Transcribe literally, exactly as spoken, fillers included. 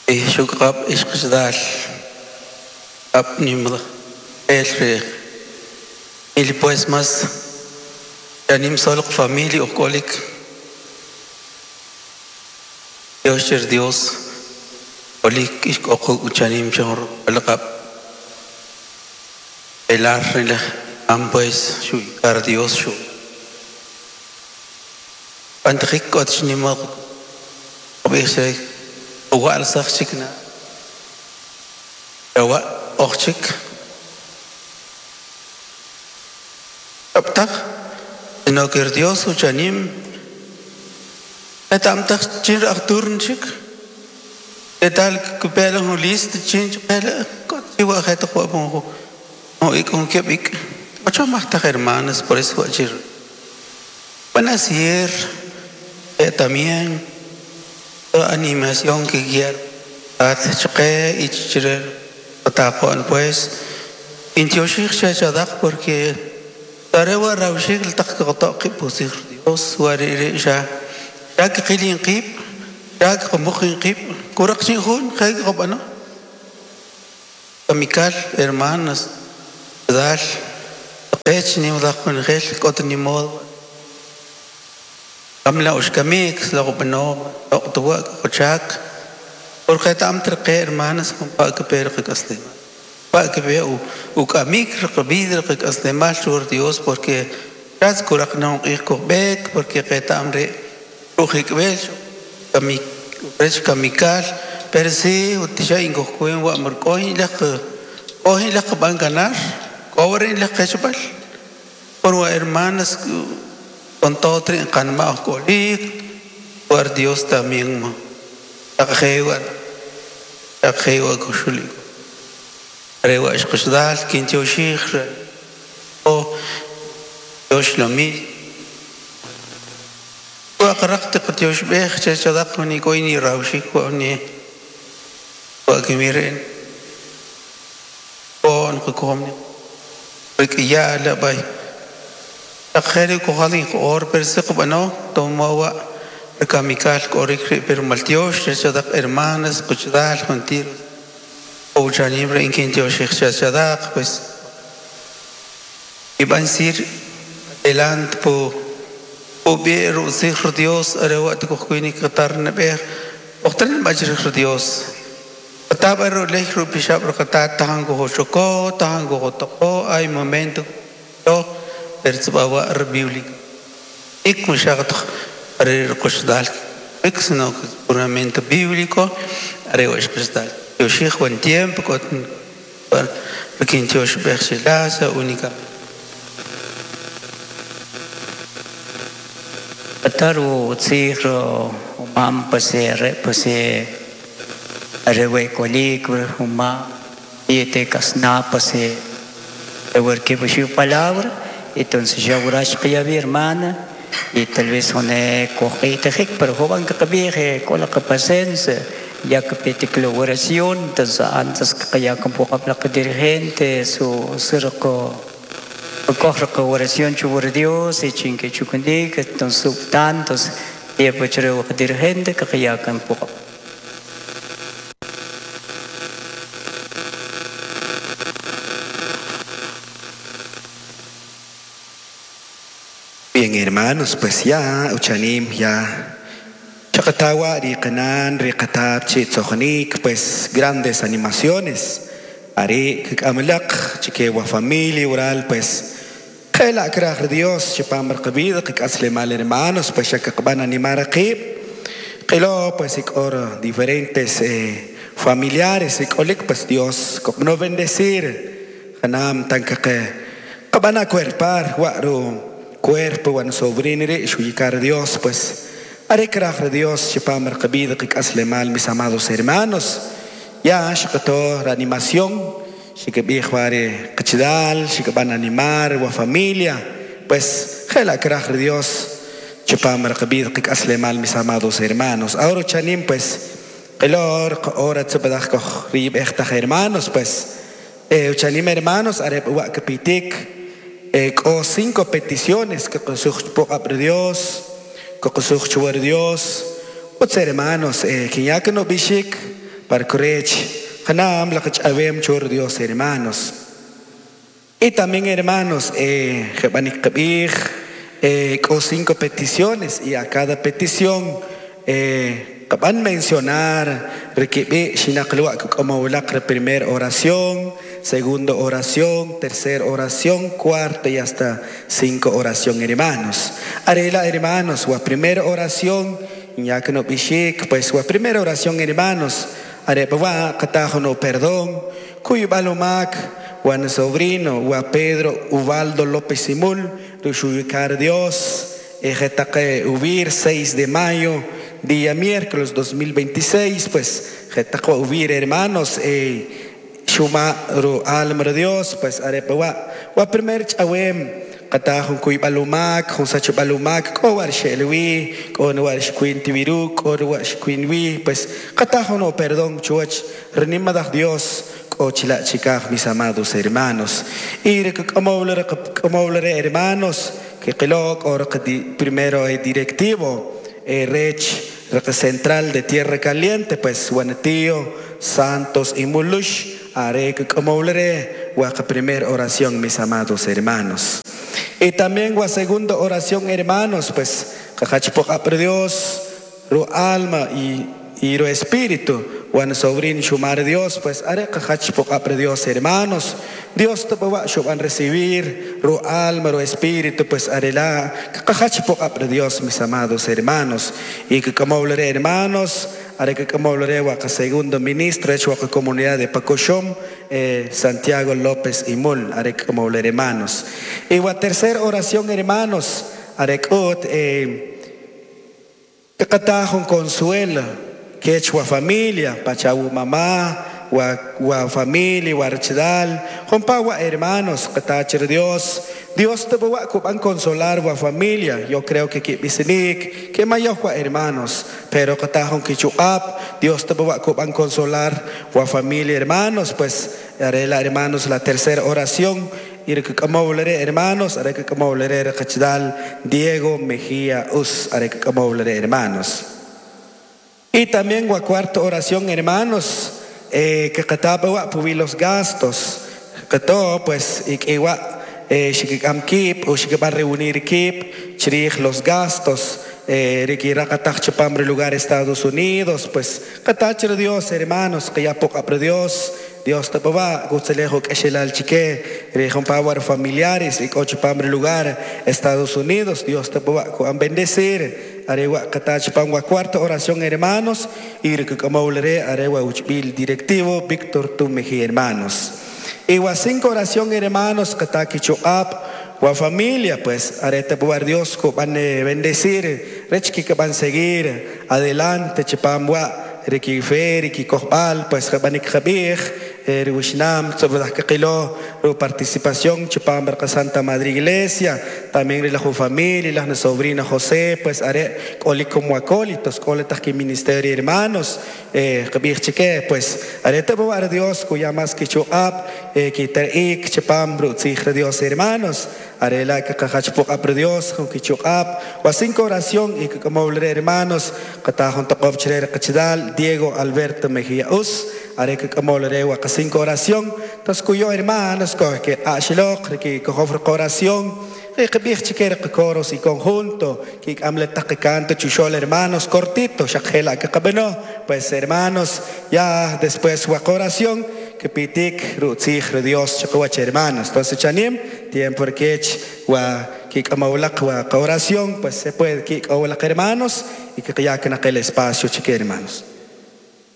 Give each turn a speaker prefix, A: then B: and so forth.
A: Shukqab ishqishdal ab nimda el il pues más yanim solo familia okolik Dios cher Dios olik ishkoq uchanim chor alqab el arre am pues shukar Dios shu antrik ot nimo obise wal sachikna wa ochik aptach no que Dios uchanim etamtach chin arturnchik etal kupela un list chin chpela kotiwa het qo no y con que bik ocho más hermanas por eso ayer van a ser eh, también animación que guiar a y chire pues intioshik shachadak porque tarewa rawshik taqqataqi pusir Dios warire sha yak qilin qib yak qmuqin qib kuraqchin jun khayq qobano kamikal hermanas dal qech ni udaq khel kot ni mod kamla ushkamik la qobano oqtuwa qochak porque tam treqe hermanas con pa que per qasle pa que ve u kamik rqbid qasle mal shur Dios porque ras kuraqna iqbek porque qetamre ruhikbel kamik rech kamikal pero si utisha ingokuen wa markoin laq ohin laq ban ganar cobren laq qechbal por hermanas con todo trin kanma kolik por Dios también mo taqewa taqewa kushuli rewa ishqshdal kinchoshikh o Dios lomi wa qaraqt qtyosh beekh chachadaq ni koini rawshik wa ni wa kimiren on qkomni rikiya la bay taqheri kohalin or persiq bano tomawa kamikal korik pero maltiosh chachadaq hermanas quchdal juntir o chanimre inkinchoshikh chachadaq pues iban sir adelante po obero sir Dios arewa tkukhini qatar nabeh oqtan majr Dios tabar lehru pishab qatar tango hoshoko tango hotoko hay momento to pertsbawa bíblico ik mushagat arer qushdal ik sino puramente bíblico arewa qushdal yoshikh buen tiempo con pequeños bersilasa única
B: Taru tsiro umam pase re pase rewe kolik uma y te kasna pase rewer que su palabra entonces ya urash que ya hermana y tal vez one cogite pero joven que kabije con la paciencia ya que pete la oración entonces antes que ya con poco la dirigente su circo coge la oración chubur Dios y chinque chukundik entonces tantos y pues creo que dirigente que ya con poco.
C: Bien, hermanos, pues ya uchanim ya chakatawa riqanan riqatab chitzojonik, pues grandes animaciones ari kamalak chikewa familia oral pues khela kraj Dios chipam rqbid qasle mal hermanos pues ya van animar aquí qilo pues ikor diferentes eh, familiares ikolik pues Dios no bendecir hanam tanque qabana cuerpar waru cuerpo bueno sobrinere shuyikar Dios pues are kraj Dios chipam rqbid qasle mal mis amados hermanos ya shqato reanimación shikebij qachdal shikeban animar wa familia pues jela kraj Dios chipam rqbid qasle mal mis amados hermanos ahora chanim pues qilor ahora tsbadaj koj rib ejtaj hermanos pues eh chanim hermanos are wa kapitik eh o cinco peticiones que qosuj poqab Dios que qosuj chuar Dios otros hermanos eh que ya que no bishik Parkurech Hanam la chor Dios hermanos. Y también hermanos, eh, eh, con cinco peticiones y a cada petición eh, van mencionar como la primera oración, segunda oración, tercera oración, cuarta y hasta cinco oración, hermanos. Arela, hermanos, la primera oración, ya que no bishik, pues la primera oración, hermanos, arepa katajo no perdón, cuyo balomac, Juan sobrino, wa Pedro Ubaldo López Simul, Rushuyukar Dios, Ejetake Ubir, seis de mayo, día miércoles dos mil veintiséis, pues, Jetako Ubir, hermanos, eh, Shuma Ru Alma Dios, pues, arepa wa, wa primer chawem, Katajun kuy balumak, jun sacho balumak, ko war shelwi, ko war shquin tibiru, ko war shquin wi, pues, katajun no perdón, chuach, renimadah Dios, ochila chicaj, mis amados hermanos. Y como hermanos, que kelok, or primero directivo, rech, central de Tierra Caliente, pues, Juanetío, Santos y Mulush, arek como huaca primera oración, mis amados hermanos. Y también la segunda oración, hermanos, pues, cajachpoc Dios, ru alma y, y ru espíritu, Juan sobrín shumar Dios, pues, are cajachpoc Dios, hermanos. Dios te va a recibir ru alma, ru espíritu, pues, arela cajachpoc Dios, mis amados hermanos. Y que como hablaré, hermanos, are que como hablaré, huaca segundo ministro, hecho huaca comunidad de Pacoshom, eh, Santiago López y Mul, are que como hablaré, hermanos. Y la tercera oración, hermanos, are que eh, que consuelo, que hecho familia, pachabu mamá, wa familia, wa archidal, compa hermanos, que Dios, Dios te va a consolar wa familia. Yo creo que que bisinik, que mayor wa hermanos, pero que tajon que chuap, Dios te va a consolar wa familia, hermanos, pues haré la hermanos la tercera oración. Y que como hablaré, hermanos, haré que como hablaré, Diego Mejía Us, haré que como hablaré, hermanos. Y también la cuarta oración, hermanos, eh, que cataba wa los gastos, que todo, pues, y que wa shikam kip o shikam reunir kip, chirij los gastos, eh, chipambre lugar Estados Unidos, pues, catachir Dios, hermanos, que ya poca pre Dios, Dios te va, gustelejo que el chique, rejón power familiares y cochipambre lugar Estados Unidos, Dios te va a bendecir. Arewa katachipangua cuarta oración, hermanos, y como hablaré, arewa uchbil directivo Víctor Tumeji, hermanos. Y wa cinco oración, hermanos, katakichuap, wa familia, pues, arete buar Dios, van bendecir, rechki que van seguir adelante, chipamwa, riki fe, riki kohbal, pues, jabanik jabij, Wishnam, sobre la que ru participación, chipam barca Santa Madre Iglesia, también la familia, la sobrina José, pues haré coli como acólitos, coletas que ministerio hermanos, eh, chique, pues haré te boar Dios, cuya más que chuap, eh, que terik, chipam, bru, Dios hermanos, haré la que cajachpok apre Dios, con que chuap, o cinco oración y que como hablaré hermanos, catajón tocop chrer cachidal, Diego Alberto Mejía Us, haré que como hablaré cinco oración, entonces cuyo hermanos, que ashilok, que cojofre oración, que chiquer coros y conjunto, que amleta que canto chuchol hermanos cortito, shakela que cabeno, pues hermanos, ya después oración, que pitik rutzij Dios chacuach hermanos. Entonces chanim, tiempo que wa que amaulak wa oración, pues se puede que hermanos y que ya que en aquel espacio chique hermanos.